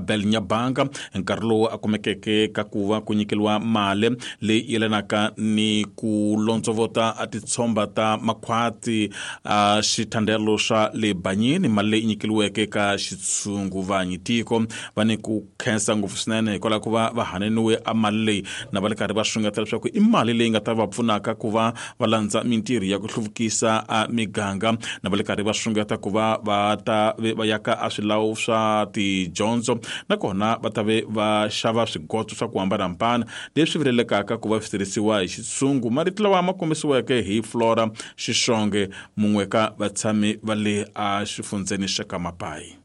Abel Nyabanga hi nkarhi lowu a kumekeke ka ku va ku nyikeliwa mali leyi yelanaka ni ku londzovota a titshomba ta makhwati a xithandelo xa le Banyini, mali leyi nyikeliweke ka xitshunguvanyi tiko. Va ni ku khensa ngopfu swinene hikwalaho ku va va haneniwe a mali leyi na va le karhi va xungeta leswaku i mali leyi nga ta va pfunaka ku va va landza mintirho ya ku hluvukisa a miganga, na va le karhi va xungeta ku va va ta ve va yaka a swilawu swa tidyondzo, nakona va ta ve va xava swigoto swa ku hambanahambana leswi vilelekaka ku va swi tirhisiwa hi xitshungu. Marito lawa ma kombisiweke hi Flora Xixonge, mun'we ka vatshami va le a xifundzeni xa ka Mapayi.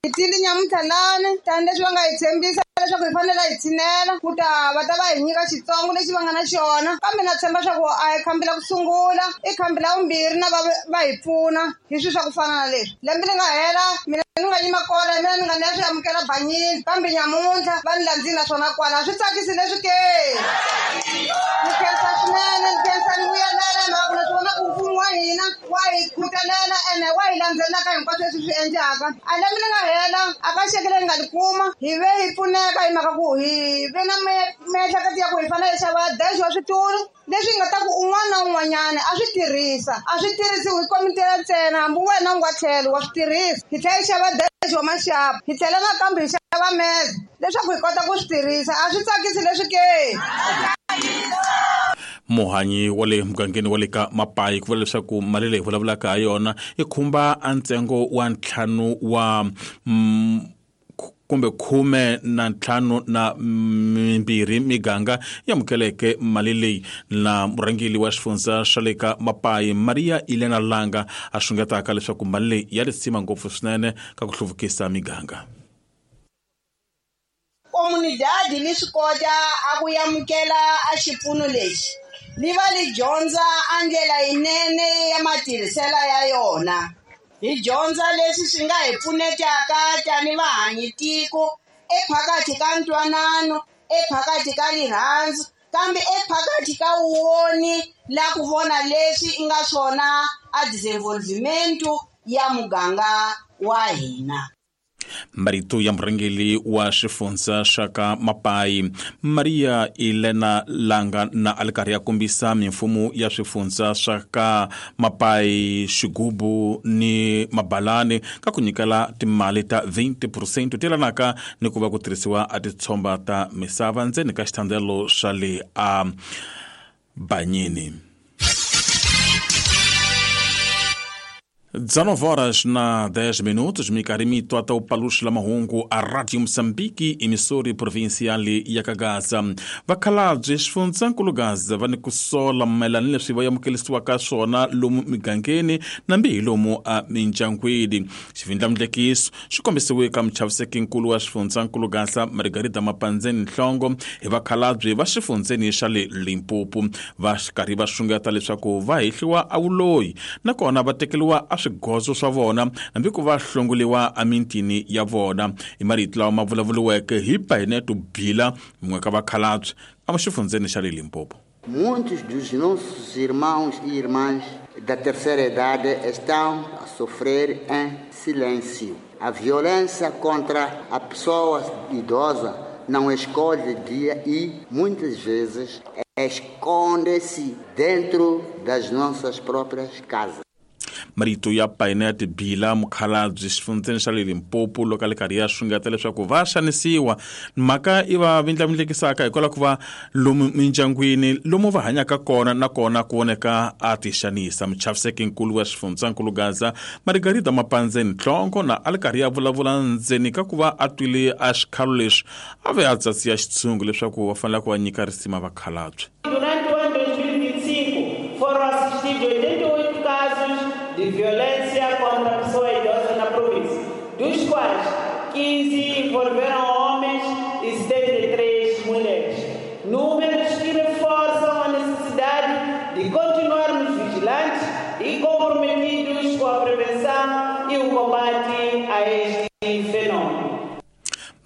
Hi tile nyamuntlha lani tanihileswi va nga hi tshembisa leswaku hi fanele hi tshinela ku ta va ta va hi nyika xitsongo lexi va nga na xona, kambe na tshemba swa ku a hi khambi la ku sungula, i khambi la vumbirhi na va va hi pfuna hi swilo swa ku fana na leswi. Lembe li nga hela mina ni nga yima kona hi mina ni nga ni ya swi amukela banyini, kambe nyamuntlha va ni landzile naswona kwala. Swi tsakisi leswi ke? Ni khensa swinene, ni khensa ni vuyelela hi mhaka ku na swi vona ku mfumo wa hina wa hi khutelela ene wa hi landzelela ka hinkwaswo leswi swi endlaka. A lembe li nga hela a ka xeke leyi nga li kuma hi ve hi pfuneka hi mhaka ku hi ve na miehleketo ya ku hi fanele hi xava dash wa switulu leswi nga ta ku un'wana na un'wanyana a swi tirhisa, a swi tirhisiwi hi komitela ntsena, hambi wena u nga tlhelo wa swi tirhisa. Hi tlhela hi xava dash wa maxapu, hi tlhela nakambe hi xava meze leswaku hi kota ku swi tirhisa. A swi tsakisi leswi ke? Muhanyi wa le mugangeni wa le ka Mapayi ku vula leswaku mali leyi vulavulaka ha yona yi khumba a ntsengo wa ntlhanu wa kumbe 15 na mimbirhi miganga yi amukeleke mali leyi. Na murhangeri wa xifundza xa le ka Mapayi Maria Elena Langa a xungetaka leswaku mali leyi ya risima ngopfu swinene ka ku hluvukisa miganga. Comunidade li swi kota a ku amukela a xipfuno lexi, li va li dyondza a ndlela yinene ya matirhisela ya yona. Hi dyondza leswi swi nga hi pfunetaka tani vahanyi tiko ephakathi ka ntwanano, ephakathi ka rirhandzu, kambe ephakathi ka woni la ku vona leswi i nga swona a desenvolvimento ya muganga wa hina. Marito ya murhangeri wa xifundza xa ka Mapayi Maria Elena Langa na a li karhi ya kombisa mimfumo ya swifundza swa ka Mapayi, Xigubu ni Mabalani ka ku nyikela timali ta 20 percent ti yelanaka ni ku va ku tirhisiwa a titshomba ta misava ndzeni ka xithandelo xa le a Banyini. 19 horas na 10 minutos, minkarhi mi twa ta upaluxila mahungu a Radio Moçambique, emissora provincial ya ka Gaza. Vakhalabye xifundzankulu Gaza va ni ku sola mayelana ni leswi va amukelisiwaka swona lomu migangeni nambi hi lomu a mindyangwini. Xivindlamundlekiso xi kombisiwe ka muchavisekinkulu wa xifundzankulu Gaza Margarida Mapandzeni Nhlongo hi vakhalabye va xifundzeni xa le Limpopo, va karhi va xungeta leswaku va hehliwa a vuloyi nakona va tekeriwa a swigozo swa vona hambi ku va hlongoliwa emintini ya vona. I marito lawa ma vulavuriweke hi Paineto Bila, mun'we ka vakhalabye exifundzeni xa le Limpopo. Muitos dos nossos irmãos e irmãs da terceira idade estão a sofrer em silêncio. A violência contra a pessoa idosa não escolhe dia e, muitas vezes, esconde-se dentro das nossas próprias casas. Marito ya Painet Bila, mukhalabye xifundzeni xa le Limpopo, loko a le karhi ya xungeta leswaku va xanisiwa. Mhaka i va vindlavindlekisaka hikwalaho ku va lomu mindyangwini lomu va hanyaka kona nakona ku voneka a ti xanisa. Muchaviseki-nkulu wa xifundzankulu Gaza Margarida Mapandzeni Nhlongo na a le karhi ya vulavula ndzeni ka ku va a twile a xikhalo lexi a ve a tsatsiya xitshungu leswaku va fanele ku va nyika risima vakhalabye. Durante o ano 2025, foram assistidos 88 casos de violência contra a pessoa idosa na província, dos quais 15 envolveram homens e 73 mulheres. Números que reforçam a necessidade de continuarmos vigilantes e comprometidos com a prevenção e o combate a este fenômeno.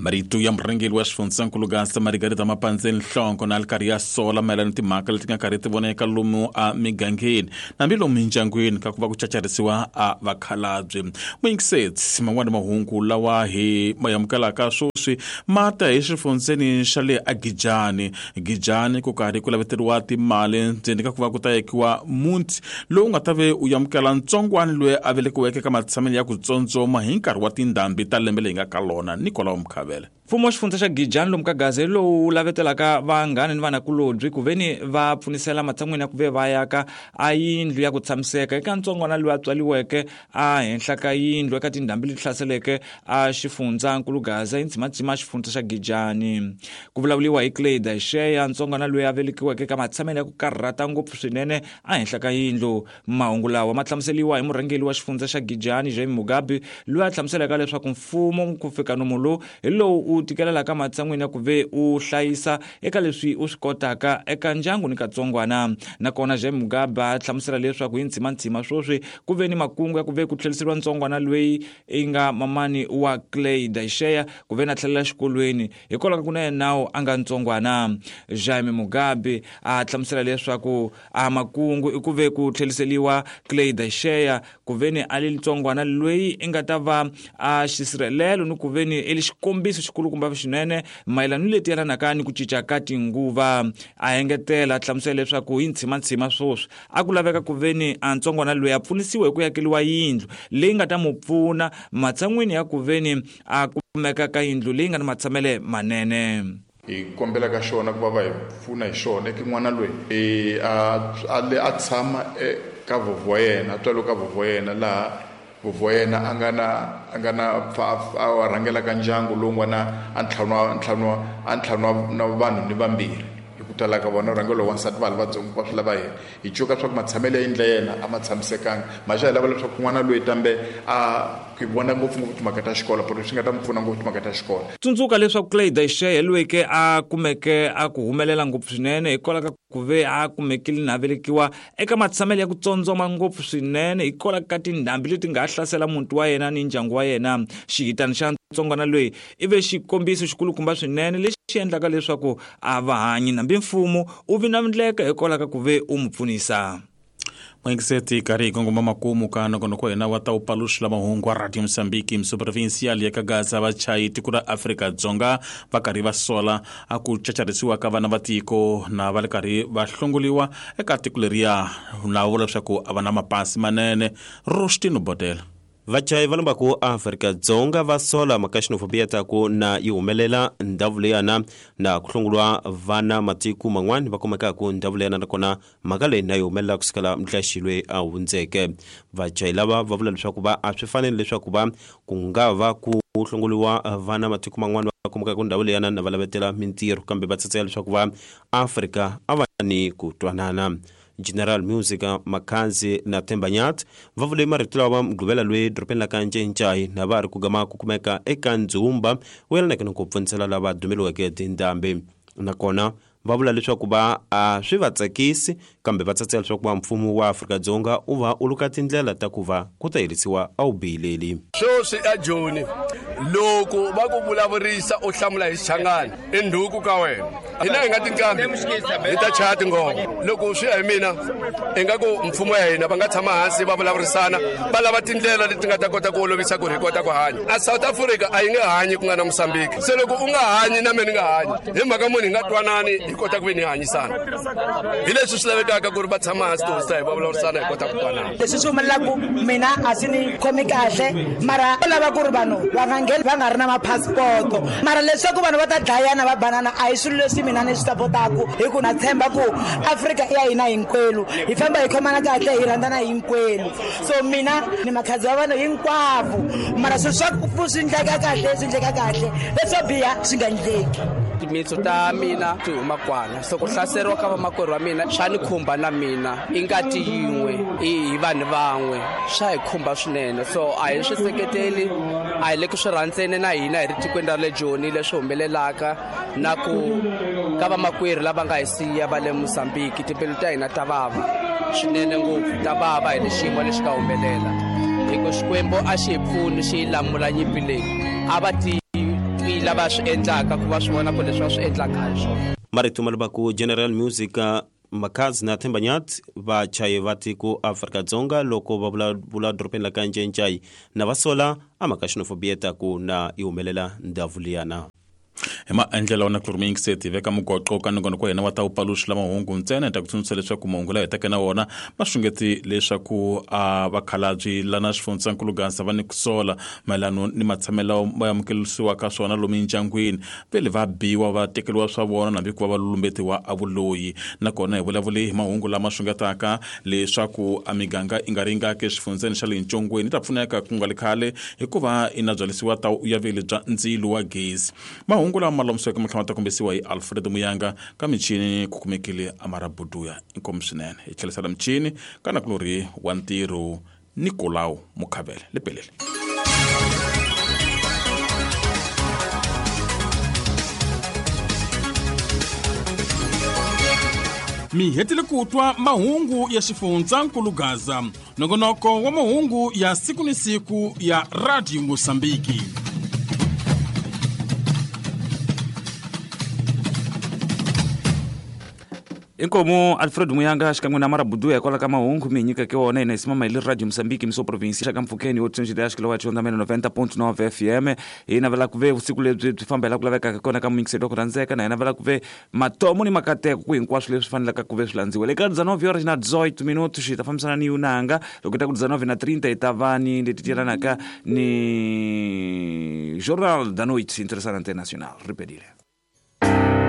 Marito ya murhangeri wa xifundzankulu Gaza Margarita Mapandzeni Nhlongo na ri karhi ya sola mayelana ni timhaka leti nga karhi ti voneka lomu a migangeni nambi lomu mindyangwini ka ku va ku cacarisiwa a vakhalabye. Muyingiseti, man'wani mahungu lawa hi ma amukelaka sweswi ma ta hi xifundzeni xa le aGijani. Gijani ku karhi ku laveteriwa timali ndzeni ka ku va ku ta yekiwa muti lowu nga ta ve u amukela ntsongwani loyi a velekiweke ka matshamelo ya ku tsondzoma hi nkarhi wa tindhambi ta lembe leyi nga ka lona. Nikolao Mkhavele. Mfumo wa xifundza xa Gijani lomu ka Gaza hi lowu lavetelaka vanghana ni vanakulobye ku veni va pfunisela matshan'wini ya ku ve va yaka a yindlu ya ku tshamiseka eka ntsongwana loyi a tswaliweke a henhla ka yindlu eka tindhambi leti hlaseleke a xifundzankulu Gaza hi ndzimadzima xifundza xa Gijani. Ku vulavuriwa hi Clay Daisheya, ntsongwana loyi a velekiweke eka matshamelo ya ku karhata ngopfu swinene a henhla ka yindlu. Mahungu lawa ma hlamuseriwa hi murhangeri wa xifundza xa Gijani Jaime Mugabe, loyi a hlamuselaka leswaku mfumo ku fika nomu lowu hi lowu u tikelelaka matshan'wini ya ku ve u hlayisa eka leswi u swi kotaka eka ndyangu ni katsongwana. Nakona Jaime Mugabe a hlamusela leswaku hi ndzima-ndzima sweswi ku ve ni makungu ya ku ve ku tlheriseriwa ntsongwana loyi i nga mamani wa Clay Daisheya ku ve na tlhelela xikolweni hikwalaho ka ku na yena nawu a nga ntsongwana. Jaime Mugabe a hlamusela leswaku a makungu i ku ve ku tlheriseriwa Clay Daisheya ku ve ni a li ntsongwana loyi i nga ta va a xisirhelelo ni ku ve ni i li xikombiso xikulukumba xinene mayelana ni leti yelanaka ni ku cinca ka tinguva. A engetela a hlamusela leswaku hi ntshimantsima sweswi a ku laveka ku ve ni a ntsongwana loyi a pfunisiwa hi ku yakeliwa yindlu leyi nga ta mu pfuna matshan'wini ya ku ve ni a kumeka ka yindlu leyi nga ni matshamele manene. Hi kombela ka xona ku va va hi pfuna hi xona eka n'wana loyi a tshama eka vovho wa yena, a tswariwe ka vovho wa yena, laha vovho wa yena a nga na a rhangelaka ndyangu lowu nga na a ntlhanu na vanhu ni vambirhi. Hi ku tala ka vona rhangelo wa wansati va ha ri vatsongo va swi lava yena. Hi cuka swa ku matshamelo ya yindlu ya yena a ma tshamisekanga. Maxa hi lava leswaku n'wana loyi tambe a ku vona ngopfungopfu timhaka ta xikolo, pero swi nga ta mi pfuna ngopfu timhaka ta xikolo. Tsundzuka leswaku Clay Daisheya loyi ke a kumeke a ku humelela ngopfu swinene hikwalaho ka ku ve a kumekile na velekiwa eka matshamelo ya ku tsondzoma ngopfu swinene hikwalaho ka tindhambi leti nga hlasela muti wa yena ni ndyangu wa yena. Xihitana xa ntsongwana loyi i ve xikombiso xikulukumba swinene lexi endlaka leswaku a va hanyi nambi mfumo u vi na ndleka hikwalaho ka ku ve u mu pfunisa. Mwingiseti karhi hi kongoma makumu ka nongonoko wa hina wa ta upaluxila mahungu wa Radio Mozambique. Muprovincial ya ka Gaza vachayi tiko ra Afrika-Dzonga va karhi va sola a ku cacarisiwa ka vana va tiko na va ri karhi va hlongoliwa eka tiko leriya na vula leswaku a va na mapasi manene. Rostino Bodela. Vachayi va lombaku Afrika-Dzonga va sola mhaka xinofobia ta ku na yi humelela ndhawu leyana na ku hlongoliwa vana matiko man'wani va kumekaka ndhawu leyana, nakona mhaka leyi na yi humelela kusukela mudlaxi a hundzeke. Vachayi lava va vula leswaku va a swi fanele leswaku va ku nga va ku hlongoliwa vana matiko man'wani va kumekaka ndhawu leyana na va lavetela mintirho, kambe va tsatseka leswaku va Afrika a va ni ku twanana. General Music Makhazi na Themba Nyathi va vule marito lawa Mugqivela loyi dorobeni la ka Ncencai na va ri ku gama ku kumeka eka ndzumba wu yelanaka ni ku pfunisela lava dumeliweke tindhambi. Nakona va vula leswaku va a swi va tsakisi, kambe va tsatsela leswaku va mfumo wa Afrika-Dzonga u va u luka tindlela ta ku va ku ta herisiwa a wu bihileli. Sweswi a Joni loko va ku vulavurisa u hlamula hi Xichangani i ndhuku ka wena. Hina hi nga tinqambi hi ta chaya tingoma. Loko swi ya hi mina ingaku mfumo ya hina va nga tshama hansi va vulavurisana va lava tindlela leti nga ta kota ku olovisa ku ri hi kota ku hanya. A South Africa a yi nge hanyi ku nga na Mozambique. Se loko u nga hanyi na mina ni nga hanyi hi mhaka munhu hi nga twanani hi kota ku ve ni hanyisana. Hi leswi swi lavekaka ku ri va tshama hansi tihosi ta hi va vulavurisana hi kota ku twanana. Leswi swi humelelaku mina a swi ni khomi kahle, mara u lava ku ri vanhu va nga ngheni va nga ri na mapasipoto, mara leswaku vanhu va ta dlayana va banana a hi swilo leswi mina ni swi sapotaku, hi ku na tshemba ku Afrika i ya hina hinkwenu, hi famba hi khomana kahle, hi rhandzana hinkwenu. So mina ni makhadzi wa vanhu hinkwavo, mara swilo swa ku swi endleka kahle swi endleka kahle, leswo biha swi nga endleki. Timitsu ta mina ti huma kwana, so ku hlaseriwa ka vamakwerhu wa mina swa ni khumba na mina, i ngati yin'we, i hi vanhu van'we, swa hi khumba swinene. So a hi swi seketeli, a hi le ku swi rhandzeni na hina hi ri tikweni ra le Joni leswi humelelaka na ku ka vamakwerhu lava nga hi siya va le Mozambique, timbilu ta hina ta vava swinene ngopfu, ta vava hi le xiyimo lexi nga humelela. Hi ku Xikwembu a xi hi pfuni xi yi lamula nyimpi leyi, a va ti lava swi endlaka ku va swi vona ku leswi va swi endlaka hi swona. Marito ma ku General Music Makhadzi na Themba Nyathi vachayi va tiko Afrika-Dzonga loko va vulavula dorobeni la ka Ncencai na va sola a mhaka xenophobia ta ku na yi humelela ndhawu liyana. Hi maendlelo na kulumiyingiseti hi veka mugoqo ka nongonoko wa hina wa ta wupaluxi la mahungu ntsena. Hi ta ku tsundzuxa leswaku mahungu lawa hi taka na wona ma xungeti leswaku a vakhalabyi lana xifundzankulu Gaza va ni ku sola mayelano ni matshamelo ma amukelisiwaka swona lomu endyangwini, vele va biwa va tekeriwa swa vona hambi ku va va lumbetiwa a vuloyi. Nakona hi vulavule hi mahungu lama xungetaka leswaku a miganga i nga ringaki exifundzeni xa le Ntshongweni yi ta pfuneka ku nga li khale hikuva i na byalisiwa ta uyaveli bya ndzilo wa gezi. Mahungu lama ma lomisiweke matlhela ma ta kombisiwa hi Alfred Muyanga ka michini ku kumekile Amara Buduya. Inkomu swinene hi tlherisela michini ka nakulorhi wa ntirho Nicolau Mukhavele lepelele. Mi hetile ku twa mahungu ya xifundzankulu Gaza, nongonoko wa mahungu ya siku ni siku ya Radio Mosambiki. Inkomu Alfred Muyanga xikan'we na Marabuduya hikwalaho ka mahungu mi hi nyikeke wona. Hina hi simama hi le Radio Mosambiki miso provinsi xa ka mpfhukeni yo tsundzuxa ya xikilo wa xondamene 90.9 FM. Hi navela ku ve vusiku lebyi byi famba hi la ku lavekaka kona ka muyingiseri wa ku rhandzeka, na hi navela ku ve matomo ni makateko ku hinkwaswo leswi fanelaka ku ve swi landziwa. Le ka 19 horas na 18 minutos hi ta fambisana ni Yunanga. Loko hi ta ku 19 na 30 hi ta va ni leti tirhanaka ni Jornal da Noite Interessante Internacional. Ripedile.